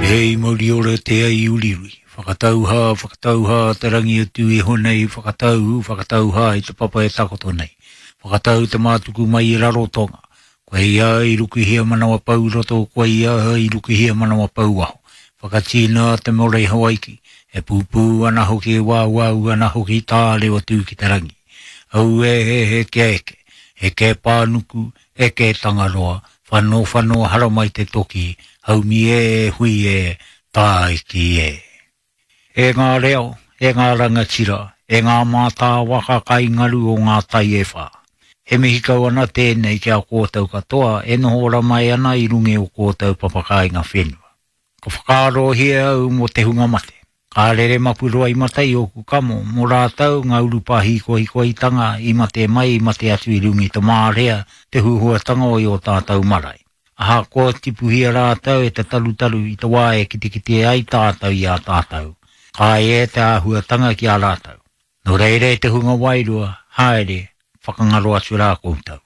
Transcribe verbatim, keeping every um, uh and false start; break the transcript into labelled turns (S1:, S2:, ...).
S1: Hei mauri ora te ai uriuri. Whakatauhā, whakatauhā te rangi atu iho nei, whakatau, whakatauhā i te papa e takoto nei. Whakatau te mātuku mai i Rarotonga. Koe ia i rukuhia manawa pau roto, koe ia i rukuhia manawa pau waho. Whakatīna te more i Hawaiki. E pūpū ana hoki, e wāwāu ana hoki tārewa tū ki te rangi. Au e he he kia eke, eke pānuku, eke tangaroa, whano whano haramai te toki, haumi e, hui e, tāiki e. E ngā reo, e ngā rangatira, e ngā mātāwaka kai ngaru o ngā tai e whā. He mihi kau ana tēnei ki a kōtou katoa e noho ora mai ana i runga o kōtou papakāinga whenua. Ka whakaarohia au mō te hunga mate. Ka rere mapuroa i mata i ōku kamo, mō rātou ngā urupā hīkohikoitanga i mate mai i mate atu i runga i te mārea, te huhuatanga o i o tātou marae. Ahakoa tipuhia rātou e te tarutaru i te wā e kitekite ai tātou i a tātou. Ka e te āhuatanga ki a rātou. Nō reira e te hunga wairua, haere, whakangaro atu rā koutou.